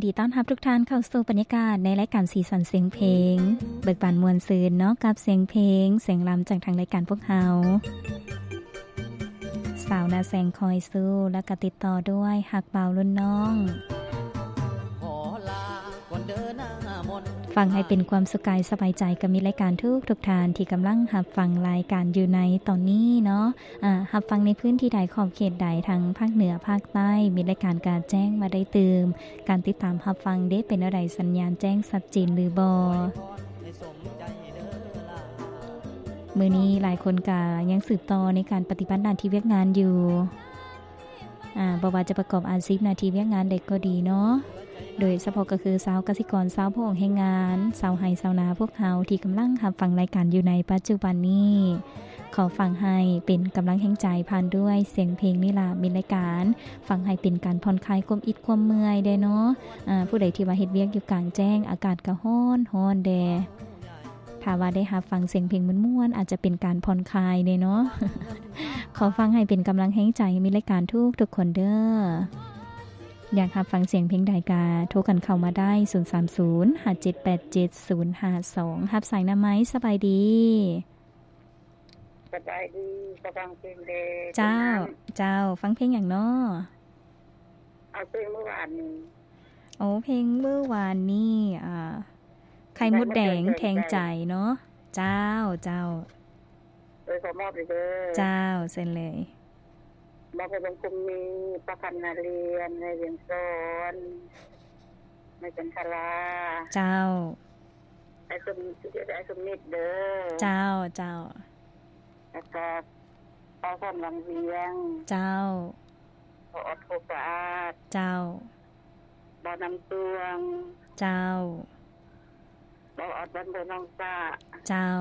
ດີຕ້ອນຮັບທຸກທ່ານເຂົ້າສູ່ບັນຍາກາດໃນລາຍການສີສັນສຽງເພງ ເບີກບານມ່ວນຊື່ນເນາະ ກັບສຽງເພງ ສຽງລຳຈາກທາງລາຍການພວກເຮົາ. ສາວໜ້າແສງຄອຍສູ້ ແລ້ວກໍຕິດຕໍ່ດ້ວຍຮັກບ່າວລຸ້ນນ້ອງ. ຟັງໃຫ້ເປັນຄວາມສຸກກາຍສະບາຍໃຈກັບມິດລາຍການທຸກໆທ່ານທີ່ກຳລັງຮັບຟັງລາຍການຢູ່ໃນຕອນນີ້ເນາະ. ອາ ຮັບຟັງໃນພື້ນທີ່ໃດ ຂອບເຂດໃດ ທັງພາກເໜືອ ພາກໃຕ້ ມິດລາຍການກະແຈ້ງມາໄດ້ຕື່ມ. ການຕິດຕາມຮັບຟັງເດ ເປັນແນວໃດ ສັນຍານແຈ້ງຊັດເຈນຫຼືບໍ່? ມື້ນີ້ຫຼາຍຄົນກະຍັງສືບຕໍ່ໃນການປະຕິບັດໜ້າທີ່ວຽກງານຢູ່. ອາ ບໍ່ວ່າຈະປະກອບອາຊີບໜ້າທີ່ວຽກງານໃດກໍດີເນາະ, ໂດຍສະເພາະກໍຄືຊາວກະສິກອນ, ຊາວພະອົງແຮງງານ, ຊາວໄຮ່ຊາວນາພວກເຮົາທີ່ກຳລັງຮັບຟັງລາຍການຢູ່ໃນປັດຈຸບັນນີ້, ຂໍຟັງໃຫ້ເປັນກຳລັງແຮງໃຈຜ່ານດ້ວຍສຽງເພງນີ້ລະ ມິດລາຍການ. ຟັງໃຫ້ເປັນການຜ່ອນຄາຍຄວາມອິດຄວາມເມື່ອຍແດ່ເນາະ. ອາ ຜູ້ໃດທີ່ວ່າເຮັດວຽກຢູ່ກາງແຈ້ງ ອາກາດກໍຮ້ອນໆແດ່. ຖ້າວ່າໄດ້ຮັບຟັງສຽງເພງມ່ວນໆ ອາດຈະເປັນການຜ່ອນຄາຍແດ່ເນາະ. ຂໍຟັງໃຫ້ເປັນກຳລັງແຮງໃຈໃຫ້ມິດລາຍການທຸກໆຄົນເດີ. ຢາກຮັບຟັງສຽງເພງໃດກະໂທກັນເຂົ້າມາໄດ້ ສູນສາມສູນ ຫ້າເຈັດແປດເຈັດ ສູນຫ້າສອງ. ຮັບສາຍນຳໄໝ? ສະບາຍດີ. ສະບາຍດີ. ຂໍຟັງເພງແດ່. ເຈົ້າ ເຈົ້າ. ຟັງເພງຫຍັງເນາະ? ເອົາເພງມື້ວານນີ້. ໂອ້ ເພງມື້ວານນີ້ ອ່າ ໄຂ່ມົດແດງແທງໃຈເນາະ. ເຈົ້າ ເຈົ້າ. ເອີ ຂໍມອບເດີ. ເຈົ້າ ເຊີນເລີຍ. ມອບໃຫ້ເບິ່ງຄຸມມີ ປ້າຄຳນາລຽນ ແມ່ວຽງສອນ ແມ່ຈັນທະລາ. ເຈົ້າ. ອ້າຍສົມ ອ້າຍສົມມິດເດີ. ເຈົ້າ ເຈົ້າ. ແລ້ວກໍ ບ່າວສອນວັງວຽງ. ເຈົ້າ. ບ່າວອອດໂຄກສະອາດ. ເຈົ້າ. ບ່າວນ້ຳຕວງ. ເຈົ້າ. ບ່າວອອດບ້ານໂພນໜອງສະ. ເຈົ້າ.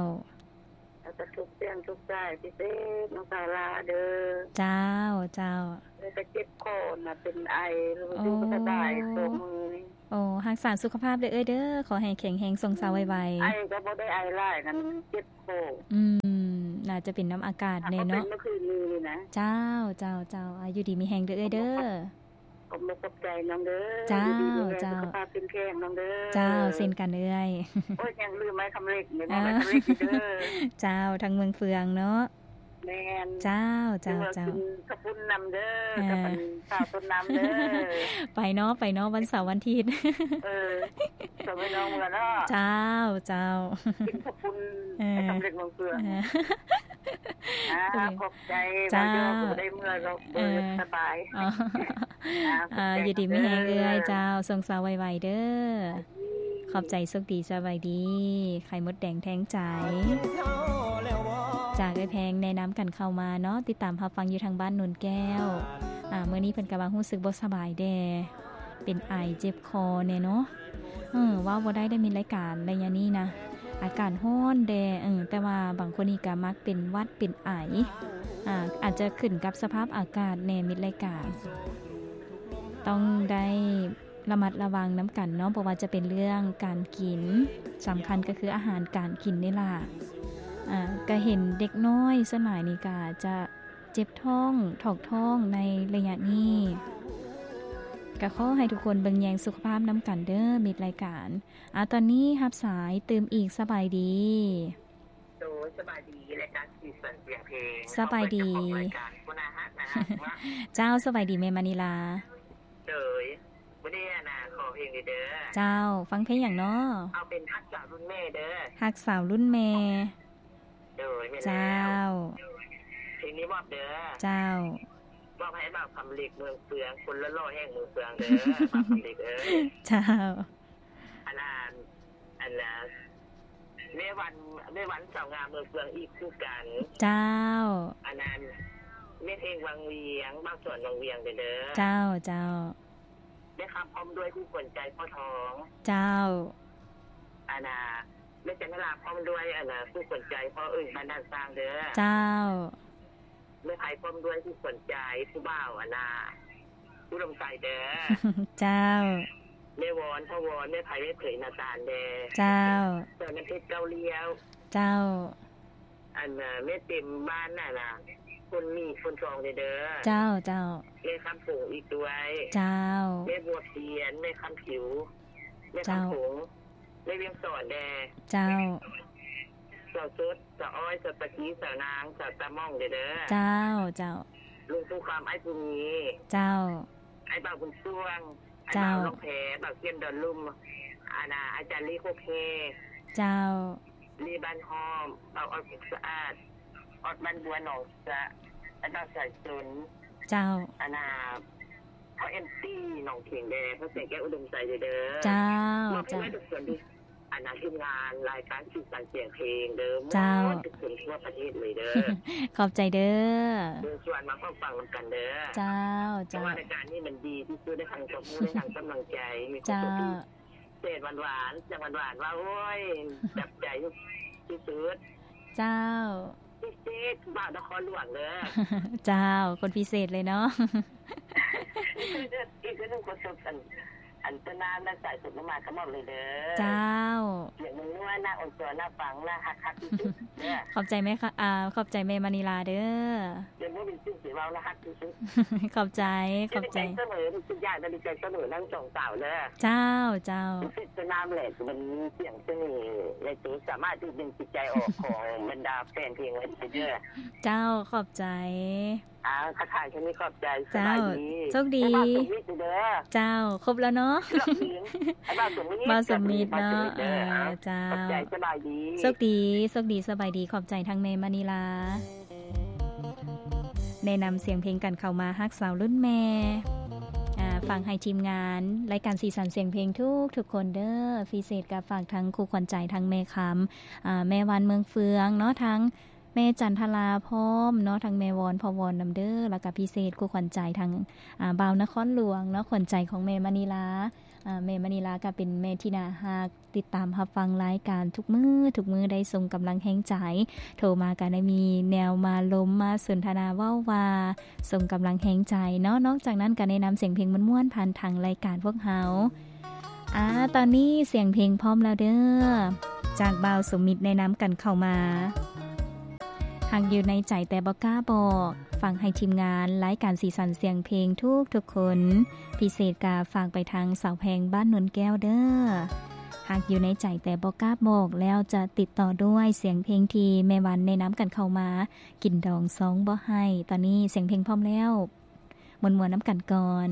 ແລ້ວກໍທຸກສຽງທຸກສາຍ ພິເສດນ້ອງສາວຫຼ້າເດີ. ເຈົ້າ ເຈົ້າ. ແລ້ວກໍເຈັບຄໍນະ ເປັນໄອ ບໍ່ສະບາຍ ໂອ້ ສອງມື້ນີ້. ໂອ້ ຮັກສາສຸຂະພາບເດີເອື້ອຍເດີ. ຂໍໃຫ້ແຂງແຮງ ຊົງຊາວໄວໆ. ອືມ ໄອກໍບໍ່ໄດ້ໄອຫຼາຍນະ ເຈັບຄໍ. ອືມ ໜ້າຈະເປັນນຳອາກາດແດ່ເນາະ. ເປັນເມື່ອຄືນນີ້ນະ. ເຈົ້າ ເຈົ້າ ເຈົ້າ. ອາ ຢູ່ດີມີແຮງເດີເອື້ອຍເດີ. ຂອບ ຂອບໃຈນ້ອງເດີ. ເຈົ້າ ເຈົ້າ. ສຸຂະພາບເຂັ້ມແຂງນ້ອງເດີ. ເຈົ້າ ເຊັ່ນກັນເອື້ອຍ. ໂອ້ຍ ຍັງລືມໄມ້ຄຳເຫຼັກນີ້ ໄມ້ຄຳເຫຼັກເດີ. ເຈົ້າ ທາງເມືອງເຟືອງເນາະ. ແມ່ນ. ເຈົ້າ ເຈົ້າ ເຈົ້າ. ກິນເຂົ້າປຸ້ນນຳເດີ ກັບອັນສາວຕົ້ນນ້ຳເດີ. ໄປເນາະ ໄປເນາະ ວັນເສົາວັນອາທິດ. ເອີ ສອງພີ່ນ້ອງເມືອເນາະ. ເຈົ້າ ເຈົ້າ. ກິນເຂົ້າປຸ້ນ ເອີ ສຳເລັດເມືອງເຟືອງ. ອ່າ ຂອບໃຈ. ເຈົ້າ ບໍ່ໄດ້ເມືອດອກ ເອີ ສະບາຍ. ອ່າ ຢູ່ດີມີແຮງເອື້ອຍ. ເຈົ້າ ຊົງຊາວໄວໆເດີ. ຂອບໃຈ ໂຊກດີ ສະບາຍດີ. ໄຂ່ມົດແດງແທງໃຈ ຈາກເອື້ອຍແພງແນະນຳກັນເຂົ້າມາເນາະ. ຕິດຕາມຮັບຟັງຢູ່ທາງບ້ານໂນນແກ້ວ. ອ່າ ມື້ນີ້ເພິ່ນກໍວ່າຮູ້ສຶກບໍ່ສະບາຍແດ່ ເປັນໄອເຈັບຄໍແດ່ເນາະ. ເອີ ເວົ້າບໍ່ໄດ້ໄດ້ມິດລາຍການໄລຍະນີ້ນະ ອາກາດຮ້ອນແດ່. ເອີ ແຕ່ວ່າບາງຄົນນີ້ກໍມັກເປັນຫວັດເປັນໄອ. ອ່າ ອາດຈະຂຶ້ນກັບສະພາບອາກາດແດ່ ມິດລາຍການ. ຕ້ອງໄດ້ ລະມັດລະວັງນຳກັນເນາະ ບໍ່ວ່າຈະເປັນເລື່ອງການກິນ, ສຳຄັນກໍຄືອາຫານການກິນນີ້ລະ. ອາ ກະເຫັນເດັກນ້ອຍສ່ວນຫຼາຍນີ້ກະຈະເຈັບທ້ອງ ຖອກທ້ອງໃນໄລຍະນີ້. ກະຂໍໃຫ້ທຸກຄົນເບິ່ງແຍງສຸຂະພາບນຳກັນເດີ ມິດລາຍການ. ອາ ຕອນນີ້ຮັບສາຍຕື່ມອີກ. ສະບາຍດີ. ໂດຍ ສະບາຍດີ ລາຍການສີສັນສຽງເພງ. ສະບາຍດີ ເຈົ້າ ສະບາຍດີແມ່ມະນີລາ. ໂດຍ ມື້ນີ້ອານາຂໍເພງເດີ. ເຈົ້າ ຟັງເພງຫຍັງເນາະ? ເອົາເປັນຮັກສາວລຸ້ນແມ່ເດີ. ຮັກສາວລຸ້ນແມ່. ໂດຍ ແມ່ນແລ້ວ. ເຈົ້າ ເພງນີ້ມອບເດີ. ເຈົ້າ ມອບໃຫ້ບ່າວຄຳເຫຼັກເມືອງເຟືອງ ຄົນຫຼໍ່ໆແຫ່ງເມືອງເຟືອງເດີ ບ່າວຄຳເຫຼັກເອີຍ. ເຈົ້າ. ອັນນັ້ນ ອັນນະ ແມ່ວັນ ແມ່ວັນສາວງາມເມືອງເຟືອງອີກຄືກັນ. ເຈົ້າ. ອັນນັ້ນ ແມ່ເພງວັງວຽງ ບ່າວສອນວັງວຽງເດີ. ເຈົ້າ ເຈົ້າ. ແມ່ຄຳພ້ອມດ້ວຍຄູ່ຂວັນໃຈພໍ່ທອງ. ເຈົ້າ. ອັນນະ ແມ່ຈັນທະລາພ້ອມດ້ວຍ ອັນນະ ຄູ່ຂວັນໃຈພໍ່ອຶ່ງບ້ານດ່ານຊ້າງເດີ. ເຈົ້າ. ແມ່ໄພພ້ອມດ້ວຍຄູ່ຂວັນໃຈຜູ້ບ່າວ ອັນນະ ອຸດົມໄຊເດີ. ເຈົ້າ. ແມ່ວອນ ພໍ່ວອນ ແມ່ໄພ ແມ່ເຜີຍ ນາຕານເດີ. ເຈົ້າ. ສອນນ້ຳເພັດ ເກົ້າລ້ຽວ. ເຈົ້າ. ອັນນະ ແມ່ເຕັມ ບ້ານນັ້ນນະ ຄົນມີຄົນຊອງເດີ. ເຈົ້າ ເຈົ້າ. ແມ່ຄຳຜົງອີກດ້ວຍ. ເຈົ້າ. ແມ່ບົວພຽນ, ແມ່ຄຳຜິວ, ແມ່ຄຳ ເຈົ້າ ຜົງ, ແມ່ວຽງສອນແດ່. ເຈົ້າ. ສາວສົດ, ສາວອ້ອຍ, ສາວຕະກີ, ສາວນາງ, ສາວຕາມ່ອງເດີ. ເຈົ້າ ເຈົ້າ. ລຸງປູຄຳ, ອ້າຍພູມີ. ເຈົ້າ. ອ້າຍບ່າວບຸນຊ່ວງ, ອ້າຍ ເຈົ້າ ບ່າວຫຼວງແພ, ບ່າວເຂັ້ມດອນລຸ່ມ, ອັນນ່າ ອາຈານລີໂຄກແຮ. ເຈົ້າ. ລີບ້ານຫ້ອມ, ບ່າວອອດ ສຸກສະອາດ, ອອດບ້ານບົວໜອງສະ, ອາຈານສາຍຊົນ. ເຈົ້າ. ອັນນ່າ ພໍ່ເອັມຊີໜອງເຂງແດ່, ພໍ່ແສງແກ້ວອຸດົມໄຊເດີ. ເຈົ້າ ເຈົ້າ. ມອບໃຫ້ເບິດທຸກຄົນທີ່ ອັນນ່າ ທີມງານລາຍການສີສັນສຽງເພງເດີ. ເຈົ້າ. ໝົດທຸກຄົນທົ່ວປະເທດເລີຍເດີ. ຂອບໃຈເດີ. ເຊີນຊວນມາຟັງນຳກັນເດີ. ເຈົ້າ ເຈົ້າ. ເພາະວ່າລາຍການນີ້ມັນດີທີ່ສຸດ, ໄດ້ຟັງຄວາມຮູ້, ໄດ້ທັງກຳລັງໃຈ, ມີຄວາມສຸກທີ່ ເຈົ້າ ເສດຫວານໆ ສຽງຫວານໆ ວ່າ ໂອ້ຍ ຈັບໃຈທີ່ສຸດ. ເຈົ້າ. ພິເສດ ບ່າວນະຄອນຫຼວງເດີ. ເຈົ້າ ຄົນພິເສດເລີຍເນາະ. ອີກເທື່ອໜຶ່ງ ຂໍສົບອັນ ອັນຕົ້ນນ້ຳ ແລະ ສາຍສົດມາກະໝອກເລີຍເດີ. ເຈົ້າ. ສຽງນົວໆ ໜ້າອ່ອນຊອນ ໜ້າຟັງ ໜ້າຮັກ ຮັກທີ່ສຸດເດີ. ຂອບໃຈແມ່ ອາ ຂອບໃຈແມ່ມະນີລາເດີ. ເດີ ບໍ່ມີສິ່ງຊິເວົ້າລະ ຮັກທີ່ສຸດ. ຂອບໃຈ ຂອບໃຈ. ດີໃຈສະເໝີ ທຸກຢ່າງກໍດີໃຈສະເໝີ ທັງສອງສາວເດີ. ເຈົ້າ ເຈົ້າ. ເປັນສະໜາມແຫຼະ ມັນມີສຽງສະເໜ່ໃນໂຕ ສາມາດດຶງຈິດໃຈອອກຂອງບັນດາແຟນເພງໄວ້ເດີ. ເຈົ້າ ຂອບໃຈ. ອ້າວ ທັກທາຍແຄ່ນີ້ ຂອບໃຈ. ເຈົ້າ ສະບາຍດີ. ໂຊກດີ. ບ່າວສົມມິດເດີ. ເຈົ້າ ຄົບແລ້ວເນາະ. ບ່າວສົມມິດ ບ່າວສົມມິດເນາະ. ເອີ ເຈົ້າ. ຂອບໃຈ. ສະບາຍດີ. ໂຊກດີ ໂຊກດີ ສະບາຍດີ. ຂອບໃຈທັງແມ່ມະນີລາ ແນະນຳສຽງເພງກັນເຂົ້າມາ. ຮັກສາວລຸ້ນແມ່ ອາ ຝາກໃຫ້ທີມງານລາຍການສີສັນສຽງເພງທຸກໆຄົນເດີ. ພິເສດກໍຝາກທັງຄູ່ຂວັນໃຈ ທັງແມ່ຄຳ ອາ ແມ່ວັນເມືອງເຟືອງເນາະ, ທັງແມ່ຈັນທະລາພ້ອມເນາະ, ທັງແມ່ວອນ ພໍ່ວອນນຳເດີ. ແລ້ວກໍພິເສດຄູ່ຂວັນໃຈທັງ ອາ ບ່າວນະຄອນຫຼວງເນາະ, ຂວັນໃຈຂອງແມ່ມະນີລາ. ອາ ແມ່ມະນີລາກໍເປັນແມ່ທີ່ໜ້າຮັກ, ຕິດຕາມຮັບຟັງລາຍການທຸກມື້ ທຸກມື້ ໄດ້ສົ່ງກຳລັງແຮງໃຈ, ໂທມາກໍໄດ້ມີແນວມາລົມມາສົນທະນາເວົ້າວ່າ ສົ່ງກຳລັງແຮງໃຈເນາະ. ນອກຈາກນັ້ນກໍແນະນຳສຽງເພງມ່ວນໆ ຜ່ານທາງລາຍການພວກເຮົາ. ອາ ຕອນນີ້ສຽງເພງພ້ອມແລ້ວເດີ ຈາກບ່າວສົມມິດແນະນຳກັນເຂົ້າມາ. ຮັກຢູ່ໃນໃຈແຕ່ບໍ່ກ້າບອກ ຝາກໃຫ້ທີມງານລາຍການສີສັນສຽງເພງທຸກໆຄົນ. ພິເສດກະຝາກໄປທາງສາວແພງບ້ານໂນນແກ້ວເດີ. ຮັກຢູ່ໃນໃຈແຕ່ບໍ່ກ້າບອກ ແລ້ວຈະຕິດຕໍ່ດ້ວຍສຽງເພງທີ່ແມ່ວັນແນະນຳກັນເຂົ້າມາ, ກິນດອງຊອງບໍ່ໃຫ້. ຕອນນີ້ສຽງເພງພ້ອມແລ້ວ, ມ່ວນໆນຳກັນກ່ອນ.